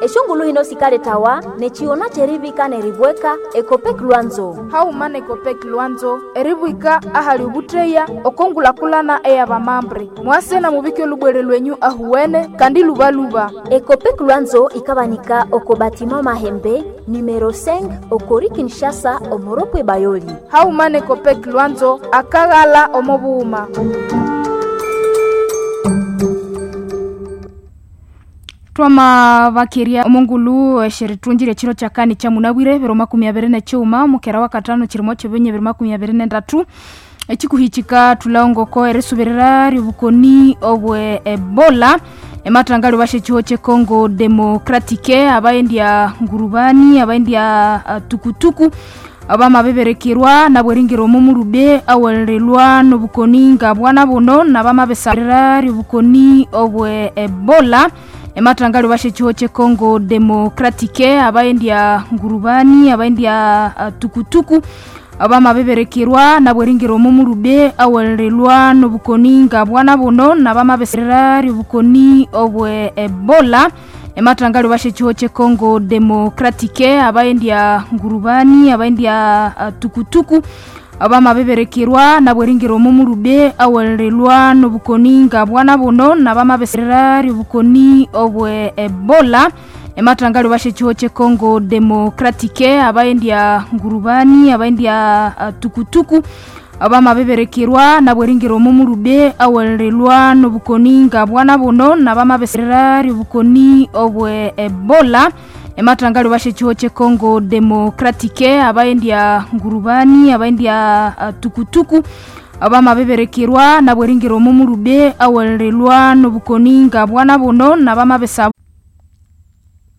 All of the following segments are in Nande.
Eshongulu hino sikaletawa nechiona cherivika neribweka Ekopek Lwanzo. Hauma na Ekopek Lwanzo eribwika ahali obuteya okongulakulana eyabamambre. Mwase na mubike olubwere lwenyu ahuwene kandi lubaluba. Ekopek Lwanzo ikabanika oko batima Mahembe numero 5 okori Kinshasa omoropwe Bayoli. Hauma na Ekopek Lwanzo akaghala omo bughuma. Twama bakeria omongulu esheritungire chiro chakani cha munabwire 2025 mukera wa katano chirimo chobenye 2023 ekikuhichika tulaongoko erisubirira ryobukoni obwe Ebola ematanga bashe chiho che Congo Democratique abaendya ngurubani abaendya tukutuku abamabeberekerwa nabweringira omumurube awelelwa nobukoni nga bwana buno nabamabesarira ryobukoni obwe Ebola ematanga bashe chiho che Congo Democratique abaendya ngurubani abaendya tukutuku abamabeberekerwa nabweringira omumurube awelelwa nobukoni nga bwana buno nabamabesarira ryobukoni obwe Ebola ematanga bashe chiho che Congo Democratique abaendya ngurubani abaendya tukutuku abamabeberekerwa nabweringira omumurube awelelwa nobukoni nga bwana buno nabamabesarira ryobukoni obwe Ebola ematanga bashe chiho che Congo Democratique abaendya ngurubani abaendya tukutuku abamabeberekerwa nabweringira omumurube awelelwa nobukoni nga bwana buno nabamabesarira ryobukoni obwe Ebola ematanga bashe chiho che Congo Democratique abaendya ngurubani abaendya tukutuku abamabeberekerwa nabweringira omumurube awelelwa nobukoni nga bwana buno nabamabesa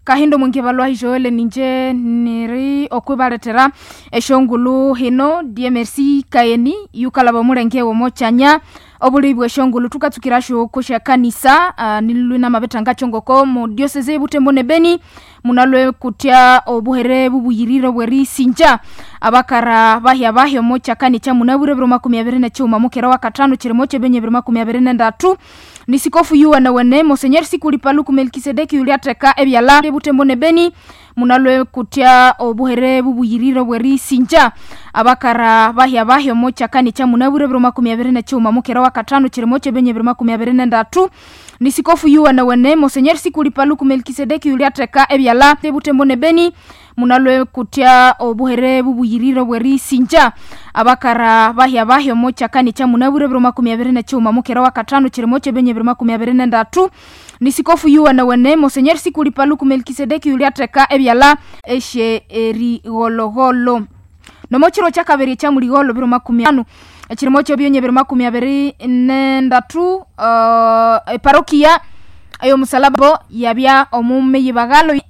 kahindo mwingi balwa Joel ninje niri okwibaletera eshongulu hino die merci kayeni yukalaba mulenge womochanya obuli bwe shongulu tukatsukira shoko sha kanisa nilulina mabetanga chongoko mu diocese Butembo ne Beni munalwe kutya obuhere bubuyiriro bwerisinja abakara bahya bahya mocha kani cha munabure 2025 mukera wa katano chirimo chebenye 2023 ni sikofu yuwa na wene Monseigneur Sikuli Paluku Melkisedeki yuliateka ebyala Butembo ne Beni munalwe kutya obuhere bubuyiriro bwerisinja abakara bahya bahya mocha kani cha munabure 2025 mukera wa katano chirimo chebenye 2023 ni sikofu yuwa na wene Monseigneur Sikuli Paluku Melkisedeki yuliateka ebyala Butembo ne Beni munalwe kutya obuhere bubuyiriro bwerisinja abakara bahya bahya mocha kani cha munabure 2025 mukera wa katano chirimo chebenye 2023 ni sikofu yuwa na wene Monseigneur Sikuli Paluku Melkisedeki yuliateka ebyala eshe erigologolo nomo chiro cha kabiri cha muligolo 2025 ekirimo kyebyenye 2023 parokia eyo musalaba yabya omume yibagalo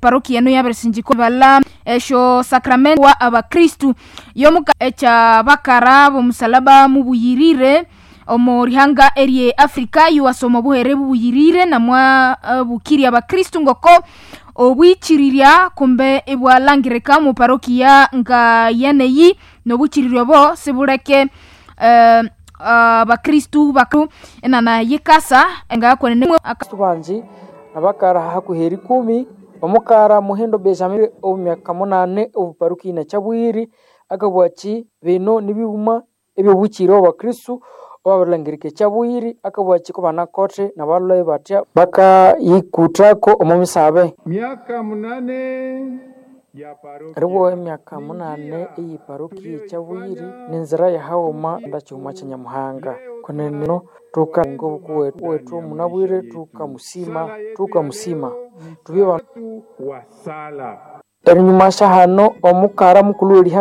parokia eno yabirisinjiko bala esho sacrament wa abakristu yomuka echa bakara bomusalaba mubuyirire omo rihanga erie Afrika yuwasoma obuhere bubuyirire namwa bukiri abakristu ngoko obwichirirya kumbe ibwalangirika mu parokia nga yeneyi nobuchirirya bo sibuleke abakristu baku enana yikasa nga kwenene banji abakara hakuhi 10 omukara Muhindo Benjamin omumyaka 8 obuparuki na Chabwiri akabwachi bino nibibuma ebyobuchiro abakristu obabalangirika Chabwiri akabwachi ko banakote nabalwaye batya bakayikuthako omu misabe Miaka 8 ya parokia riwo emyaka 8 eyi parokia Chabwiri nenzira yahaoma ndachuma cha Nyamuhanga kuneno tuka ngobuku wetu munabwire tukamusima tubye watu wa sala erinyuma shahano omukara mukulu w'erihanga.